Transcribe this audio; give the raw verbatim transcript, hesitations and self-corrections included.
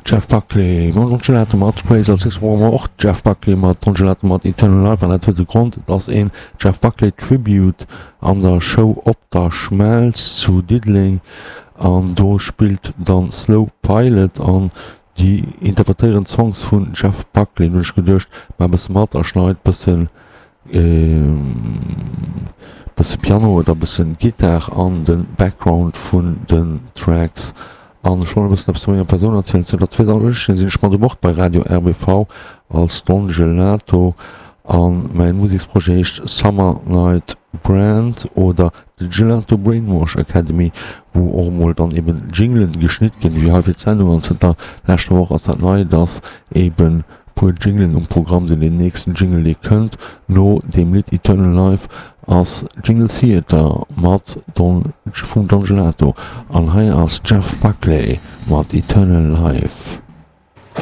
Jeff Buckley mam Don Gelato mat Praise. Als nächst brauche mer och Jeff Buckley mat Don Gelato mat Eternal Life an dat huet e Grond, et ass een Jeff Buckley Tribute an der Show Op der Schmelz zu Diddeleng an do spillt dann Slow Pilot an déi interpretéieren d'Songs vun Jeff Buckley. Hunn ech geduecht, maach e bësse mat a schneit bëssen bësse Piano oder bëssen Gittar an de Background vun den Tracks. An ech wollt e bëssen eppes zu menger Persoun erzielen. Zënter zweedausenduechtzéng sinn ech mat u Bord bei Radio R B V als Don Gelato an mäin Museksprojet heescht Summer Night Brand oder The Gelato Brainwash Academy, wou och emol dann eben Jinglen geschnitt ginn, wéi hei fir d'Sendung. An zënter leschter Woch ass dat nei, dass eben puer Jinglen um Programm sinn. Deen nächsten Jingle, dee kënnt no deem Lidd Eternal Life, ass Jingle Theater mat Don vum Don Gelato an hei ass Jeff Buckley mat Eternal Life.